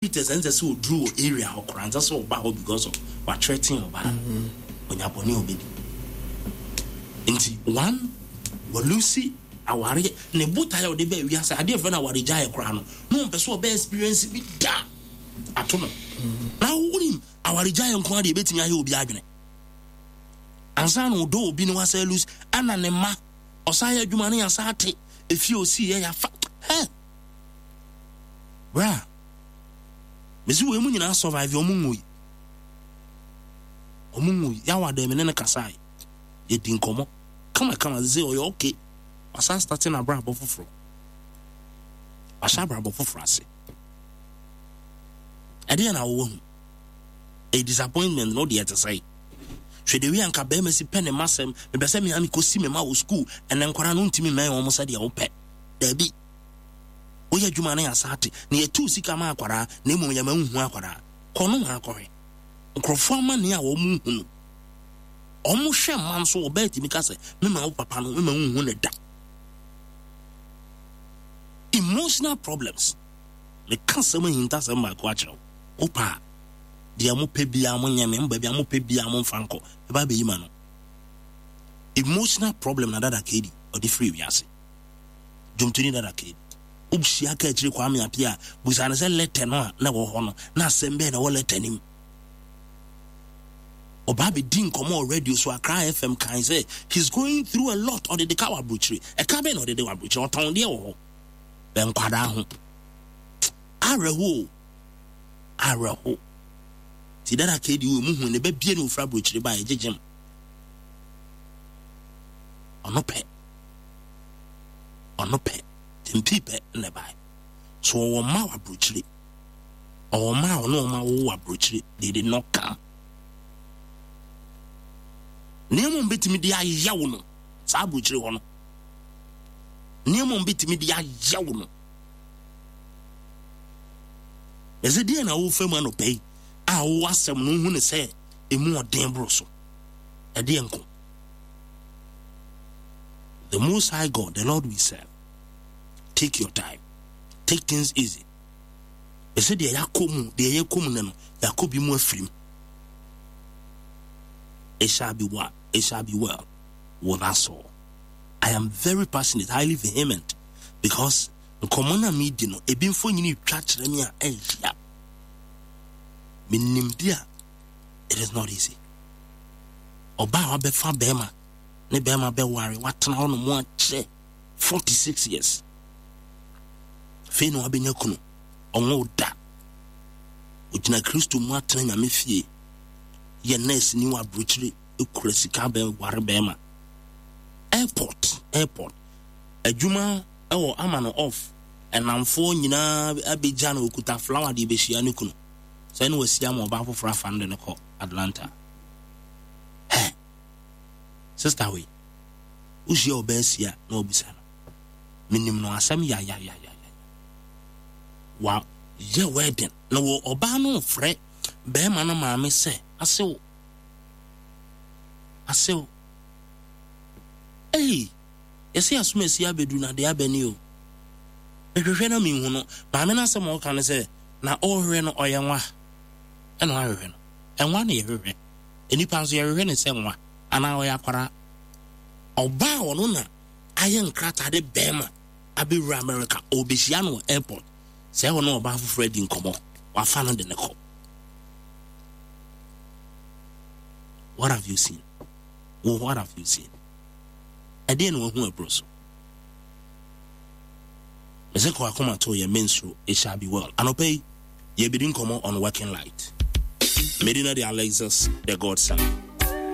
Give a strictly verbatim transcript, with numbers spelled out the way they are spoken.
Peters ɛnsɛ sɛ ɔduru wɔ area hɔ koraa, ɛnsɛ sɛ ɔba hɔ because of wathreaten ɔbaa no. Ɔnya bɔne a ɔbɛdi. Nti one, walose awareɛ, ne botaeɛ a ɔde baa wiase, adeɛ fɛ no awaregyaeɛ koraa no, na ɔmpɛ sɛ ɔbɛ experience bi da ato no. Na wonim awaregyaeɛ nko ara deɛ ɛbɛtumi ayɛ obi adwene. Ansa na ɔdɔ obi no wasa lose, ɛna ne mma, ɔsan yɛ adwuma no yɛasa ate, efie osi yɛ yɛafa. Hɛ! Bra, mesi wei mu nyinaa survive, ɔmo nwui. Ɔmo nwui. Yawa dɛ me ne no kasae. Yɛdi nkɔmmɔ. Kama kama sɛ ɔyɛ okay. Wasan start n'abrabɔ foforɔ. Wahyɛ abrabɔ foforɔ ase. Ɛdeɛ na wɔwɔ hu. A disappointment no deɛ te sɛ. Hwɛ de wi anka bɛrima si pɛ ne ma sɛm. Mepɛ sɛ mea mekɔsi me ma wɔ school. Ɛnɛ nkwadaa no ntumi mmɛn wɔn sɛdeɛ wopɛ. Daabi. Woyɛ adwuma no yɛasa ate. Na yɛtu sika ma akwadaa na mmom yɛma nhu akwadaa. Kɔ no ho akɔhwɛ. Nkurɔfoɔ amanneɛ a wɔn hu no. Wɔn hwɛ mma nso ɔbaa tumi ka sɛ mema wo papa no mema wo nhu ne da. Emotional problems. Meka sɛm ahintasɛm baako akyerɛ wo. Wopa a, deɛ mopɛ biara monyɛ me, mba biara mopɛ biara momfa nkɔ. Ɛba abɛyi ma no. Emotional problem na Dada K D ɔde firi wiase. Dwomtoni Dada K D. Wohyia ka akyire Kwame Appiah a, busa no sɛ letter no a na ɛwɔ hɔ no, na asɛm bɛɛ na ɛwɔ letter no mu. Ɔbaa bɛdi nkɔmmɔ wɔ radio so, Accra F M, kan sɛ he's going through a lot. Ɔde de ka wɔ aburokyire. Ɛka bɛn na ɔde de wɔ aburokyire? Ɔtɔn deɛ wɔ hɔ. Bɛ nkwadaa ho. Awerɛho o. Awerɛho. Ti Dada K D wɔ mu hu ne bɛ bie ne ofura aburokyire ba ɛgyegyem. Ɔno pɛ. Ɔno pɛ. Tempi pɛ na ɛbae. So ɔwɔ mma wɔ aburokyire. Ɔwɔ mma a ɔne ɔma wɔ aburokyire. They did not come. Nneɛma a wɔbɛtumi de ayɛ wo no saa aburokyire hɔ no, nneɛma a wɔbɛtumi de ayɛ wo no, ɛsɛ deɛ na wofa mu anɔpa yi a wowɔ asɛm no wohu ne sɛ ɛmu ɔden boro so. Ɛdeɛ nko the Most High God, the Lord we serve, take your time, take things easy. Ɛsɛ deɛ yɛakɔ mu, deɛ yɛkɔ mu no no yɛakɔ bi mu afirim. It shall be what? It shall be well with us all. I am very passionate, highly vehement, because nkɔmmɔ no a medi no, ebi mfonyini twa kyerɛ me a ɛnhyia. Menim di a, it is not easy. Ɔbaa a wabɛfa bɛrima ne bɛrima bɛware, watena hɔ nom akyɛ forty-six years. Afei na wabɛnya kunu, ɔnwo da. Ogyina Kristo mu atena Nyame fie. Yɛ nurse ni wɔ aburokyire, ekura sika bɛware bɛrima. Airport, airport. Adwuma ɛwɔ ama no off. Ɛnamfoɔ nyinaa abɛgya no, okuta flower de bɛhyia ne kunu. Sɛ ne wasi ama ɔbaa foforɔ afa no de no kɔ Atlanta. Hɛ, sister wei, wohyia ɔbaa si a na wabisa no. Menim no asɛm yayayayaya. Wa yɛ wedding na wɔ ɔbaa no frɛ bɛrima no maame sɛ asew asew. Ei, yɛsɛ asom asi abɛdu na deɛ abɛni o. Mehwehwɛ na mehu no. Maame no asɛm a ɔka no sɛ na ɔrehwehwɛ no ɔyɛ nwa. Ɛna ɔahwehwɛ no. Ɛnwa na yɛhwehwɛ. Nnipa nso yɛhwehwɛ ne sɛ nwa anaa ɔyɛ akwara. Ɔbaa ɔno na ayɛ nkrataa de bɛrima abɛwura America. Ɔbɛhyia no wɔ airport. Sɛ ɛhɔ no ɔbaa foforɔ adi nkɔmmɔ. Wafa no de ne kɔ. What have you seen? Well, what have you seen? Ɛdeɛ na wahu ɛborɔ so. Mɛsɛ kɔ akoma to yɛ mensuro, it shall be well. Anɔpa yi, yɛbɛdi nkɔmmɔ on working light. Medina de Alexis, the Godson.